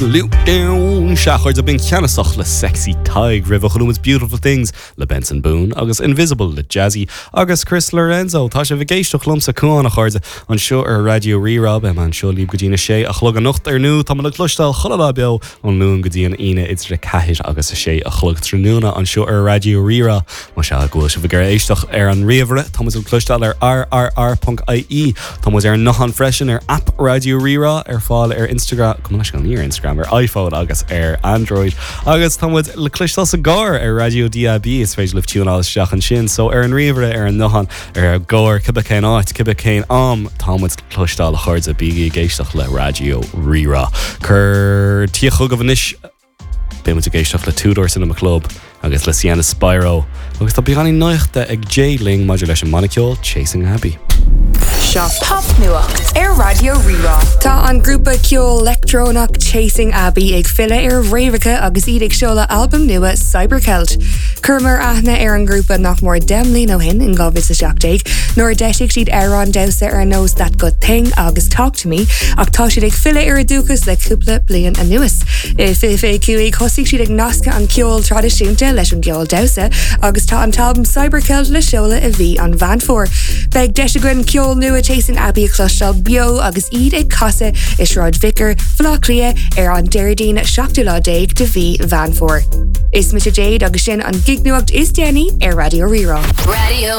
Sea, a chairde, b'in Ceannasach le Sexy Tadhg roimhe chuala muid Beautiful Things le Benson Boone agus Invisible le Jazzy agus Chris Lorenzo. Tá sibh ag éisteacht liomsa Cuán a chairde anseo ar Raidió Rí-Rá. Beidh mé anseo libh go dtí na sé a chlog anocht ar ndóigh. Tá muid le cloisteáil chuile lá beo ón Luan go dtí an Aoine idir 4 agus 6 a chlog tráthnóna anseo ar Raidió Rí-Rá. Más ea go bhfuil sibh ag iarraidh éisteacht ar an ríomhaire, tá muid le cloisteáil ar rrr.ie. Tá muid ar an nguthán freisin ar aip Raidió Rí-Rá ar fáil ar Instagram, gabh mo leithscéal, ní ar Instagram, ar iPhone agus ar Android. Agus tá muid le cloisteáil sa gcarr ar Raidió DAB, is féidir libh tiúnáil isteach ansin. So ar an ríomhaire, ar an nguthán, ar an gcarr, cibé cén áit, cibé cén am, tá muid le cloisteáil a chairde, bígí ag éisteacht le Raidió Rí-Rá. Cuir tí chugaibh anois. Beidh muid ag éisteacht le Two Door Cinema Club agus le Sienna Spiro agus tá beagáinín nuachta ag Jay linn maidir leis an mbanna ceoil Chasing Abbey. Seo Popnuacht ar Raidió Rí-Rá. Tá an grúpa ceoil leictreonach Chasing Abbey ag filleadh ar a bhfréamhacha agus iad ag seoladh albam nua Cybercelt. Chuireamar aithne ar an ngrúpa nach mór 10 mbliana ó shin in 2017 nuair a d'eisigh siad amhráin damhsa ar nós That Good Thing agus Talk to Me ach tá siad ag filleadh ar a dúchas le cúpla bliain anuas. I 2025 thosaigh siad ag nascadh an ceol traidisiúnta leis an gceol damhsa agus tá an t-albam Cybercelt le seoladh i mhí an Mheán Fómhair. Beidh deis againn ceol nua Chasing Abbey a chloisteáil beo agus iad ag casadh i Sráid Vicar, Bhaile Átha Cliath ar an Déardaoin 17ú lá de mhí Mheán Fómhair. Is mise Jade agus sin an gignuacht is déanaí ar Raidió Rí-Rá. Raidió.